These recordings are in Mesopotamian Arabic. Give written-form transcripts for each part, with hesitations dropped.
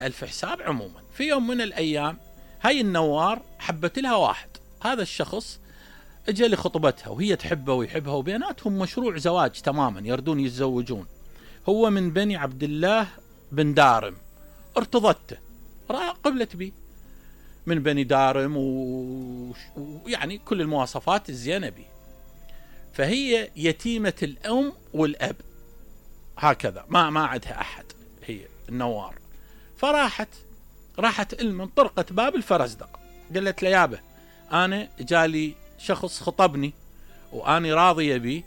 ألف حساب. عموما في يوم من الأيام هاي النوار حبت لها واحد، هذا الشخص اجى لخطبتها وهي تحبه ويحبها وبيناتهم مشروع زواج تماما، يردون يتزوجون. هو من بني عبد الله بن دارم، ارتضته، قبلت بي من بني دارم ويعني كل المواصفات الزينة بي. فهي يتيمة الأم والأب هكذا، ما عندها أحد هي النوار. راحت من طرقت باب الفرزدق، قالت له يابا أنا جالي شخص خطبني وأني راضية بي،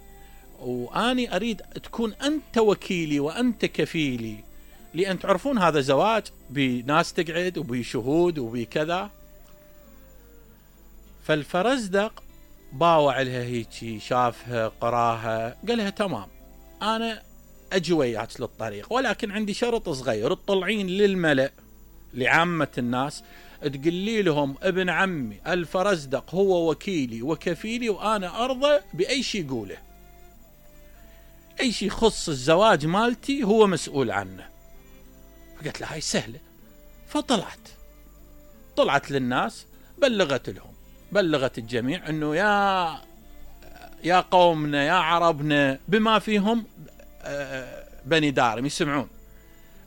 وأني أريد تكون أنت وكيلي وأنت كفيلي، لأن تعرفون هذا زواج بناس تقعد وبشهود وبكذا. فالفرزدق باوع لها هيك، شافها قراها، قالها تمام أنا أجي وياك للطريق، ولكن عندي شرط صغير، تطلعين للملأ لعامة الناس تقولي لهم ابن عمي الفرزدق هو وكيلي وكفيلي، وأنا أرضى بأي شيء يقوله، أي شيء يخص الزواج مالتي هو مسؤول عنه. فقلت لها هاي سهلة. طلعت للناس، بلغت الجميع أنه يا قومنا يا عربنا بما فيهم بني دارم يسمعون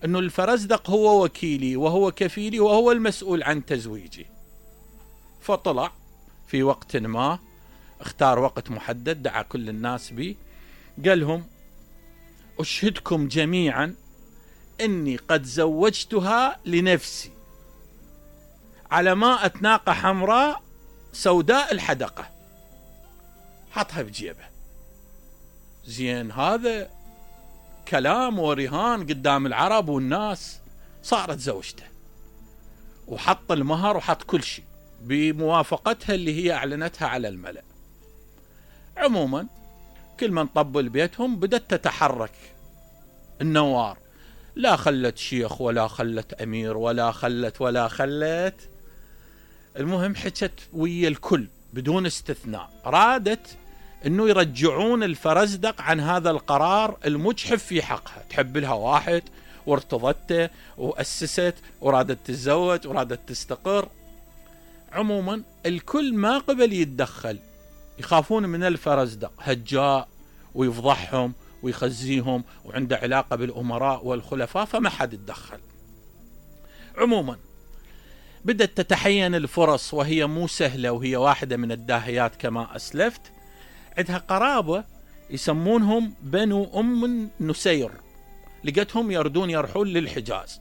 أنه الفرزدق هو وكيلي وهو كفيلي وهو المسؤول عن تزويجي. فطلع في وقت ما، اختار وقت محدد، دعا كل الناس به، قال لهم أشهدكم جميعا أني قد زوجتها لنفسي على ماء ناقة حمراء سوداء الحدقة. حطها بجيبه. زين، هذا كلام ورهان قدام العرب والناس. صارت زوجته وحط المهر وحط كل شيء بموافقتها اللي هي أعلنتها على الملأ. عموما كل من طبل بيتهم بدأت تتحرك النوار، لا خلت شيخ ولا خلت أمير ولا خلت. المهم حكت ويا الكل بدون استثناء، رادت انه يرجعون الفرزدق عن هذا القرار المجحف في حقها. تحب لها واحد وارتضته وأسست ورادت تتزوج ورادت تستقر. عموما الكل ما قبل يتدخل، يخافون من الفرزدق، هجاء ويفضحهم ويخزيهم وعنده علاقة بالأمراء والخلفاء، فما حد يتدخل. عموما بدأت تتحين الفرص، وهي مو سهلة، وهي واحدة من الداهيات كما أسلفت. عندها قرابة يسمونهم بنو أم نسير، لقتهم يرحون للحجاز.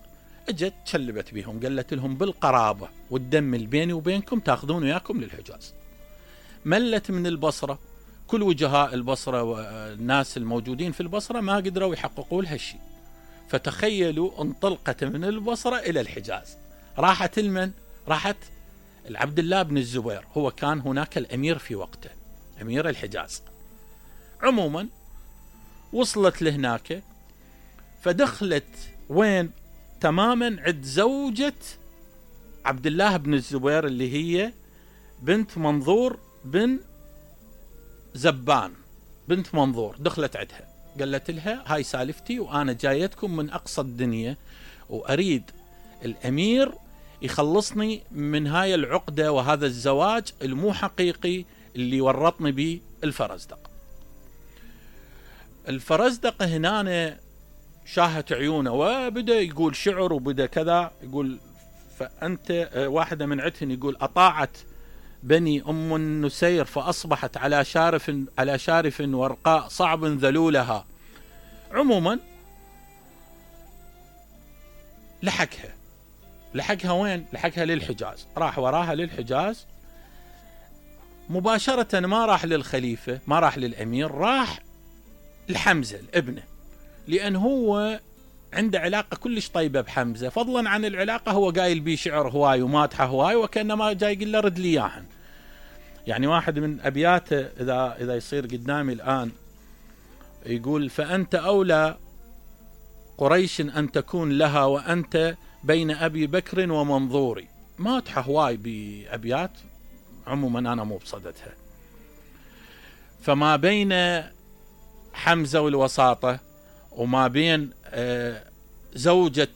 اجت تشلبت بهم، قالت لهم بالقرابة والدم اللي بيني وبينكم تاخذون وياكم للحجاز. ملت من البصرة، كل وجهاء البصرة والناس الموجودين في البصرة ما قدروا يحققوا لها شيء. فتخيلوا انطلقت من البصرة إلى الحجاز. راحت العبد الله بن الزبير، هو كان هناك الأمير في وقته، أمير الحجاز. عموما وصلت لهناك، فدخلت وين تماما عند زوجة عبد الله بن الزبير اللي هي بنت منظور بن زبان، بنت منظور. دخلت عندها، قالت لها هاي سالفتي، وأنا جايتكم من أقصى الدنيا، وأريد الأمير يخلصني من هاي العقدة وهذا الزواج المو حقيقي اللي ورطني به الفرزدق. الفرزدق هنا شاهت عيونه وبدأ يقول شعر وبدأ كذا، يقول فأنت واحدة من عتهن، يقول أطاعت بني أم النسير فأصبحت على شارف ورقاء صعب ذلولها. عموما لحقها وين؟ لحقها للحجاز. راح وراها للحجاز مباشرة، ما راح للخليفة، ما راح للأمير، راح لحمزة ابنه، لأن هو عنده علاقة كلش طيبة بحمزة. فضلا عن العلاقة هو قايل بيه شعر هواي ومادحه هواي، وكأنما جاي يقول له رد لي إياهن. يعني واحد من أبياته إذا يصير قدامي الآن، يقول فأنت أولى قريش أن تكون لها وأنت بين أبي بكر ومنظوري. مادحه هواي بأبيات، عموما أنا مو بصدتها. فما بين حمزة والوساطة، وما بين زوجة